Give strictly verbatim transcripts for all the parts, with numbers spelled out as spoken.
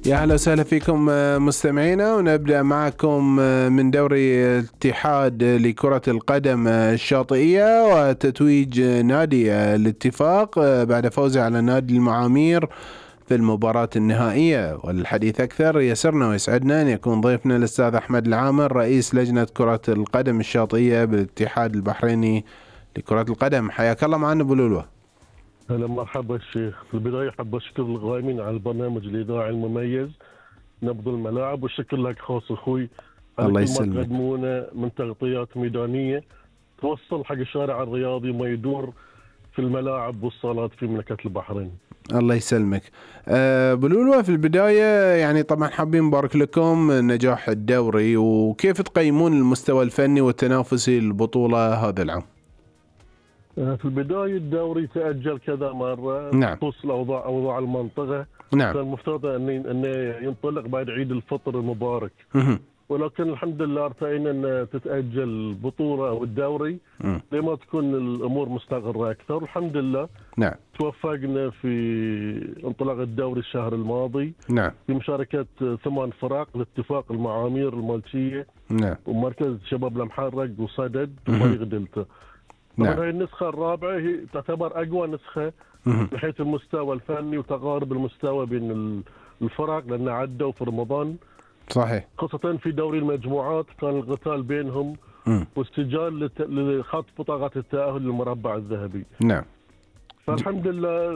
يا أهلا وسهلا فيكم مستمعينا، ونبدأ معكم من دوري الاتحاد لكرة القدم الشاطئية وتتويج نادي الاتفاق بعد فوزه على نادي المعامير في المباراة النهائية. والحديث أكثر يسرنا ويسعدنا أن يكون ضيفنا الأستاذ أحمد العامر رئيس لجنة كرة القدم الشاطئية بالاتحاد البحريني لكرة القدم. حياك الله معنا أبو لولو. هلا مرحبا الشيخ. في البداية حاب أشكر القائمين على البرنامج الإذاعي المميز نبض الملاعب، والشكر لك خاص أخوي على الله كل يسلمك. ما تقدمونه من تغطيات ميدانية توصل حق الشارع الرياضي وما يدور في الملاعب والصالات في مملكة البحرين. الله يسلمك. أبو لولو، في البداية يعني طبعا حابين نبارك لكم نجاح الدوري، وكيف تقيمون المستوى الفني والتنافسي للبطولة هذا العام؟ في البداية الدوري تأجل كذا مرة نعم. بخصوص الأوضاع أوضاع المنطقة. نعم. كان المفترض أن أن ينطلق بعد عيد الفطر المبارك، مه. ولكن الحمد لله ارتئينا أن تتأجل البطولة أو الدوري مه. لما تكون الأمور مستقرة أكثر. الحمد لله نعم. توفقنا في انطلاق الدوري الشهر الماضي نعم. في مشاركة ثمان فرق لاتفاق المعامير المالكية نعم. ومركز شباب المحرق وصدد وفريق دلتا. نعم. طبعا هي النسخة الرابعة هي تعتبر أقوى نسخة من حيث المستوى الفني وتقارب المستوى بين الفرق، لأن عدوا في رمضان صحيح. خاصة في دوري المجموعات كان القتال بينهم مم. واستجال لت- لخط بطاقة التأهل للمربع الذهبي. نعم. فالحمد لله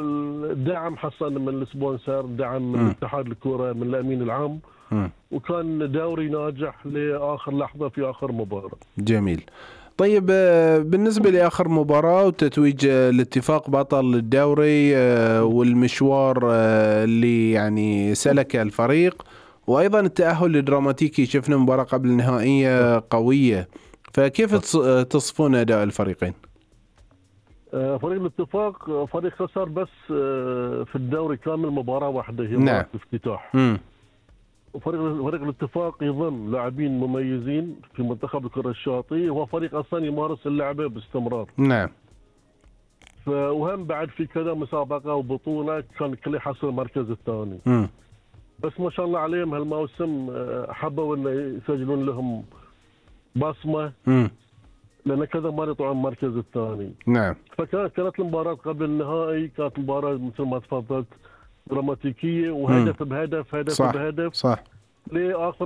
الدعم حصل من السبونسر، دعم من مم. اتحاد الكرة، من الأمين العام، مم. وكان دوري ناجح لآخر لحظة في آخر مباراة. جميل. طيب، آه، بالنسبة لآخر مباراة وتتويج آه، الاتفاق بطل الدوري آه، والمشوار آه، اللي يعني سلك الفريق، وأيضا التأهل الدراماتيكي، شفنا مباراة قبل النهائية قوية، فكيف تص- آه، تصفون أداء الفريقين؟ آه، فريق الاتفاق آه، فريق خسر بس آه، في الدوري كامل مباراة واحدة هي نعم. مباراة الافتتاح. مم. وفريق فريق الاتفاق يضم لاعبين مميزين في منتخب الكرة الشاطئية، وهو فريق أصلا يمارس اللعبة باستمرار. نعم. ف- وهم بعد في كذا مسابقة وبطولة كان الكل يحصل المركز الثاني. مم. بس ما شاء الله عليهم هالموسم آه، حبوا انه يسجلون لهم بصمة، مم. لأن كذا مرة يطلعون المركز الثاني. نعم. فكانت كانت المباراة قبل النهائي كانت مباراة مثل ما تفضلت دراماتيكية، وهدف بهدف هدف صح. بهدف صح. لآخر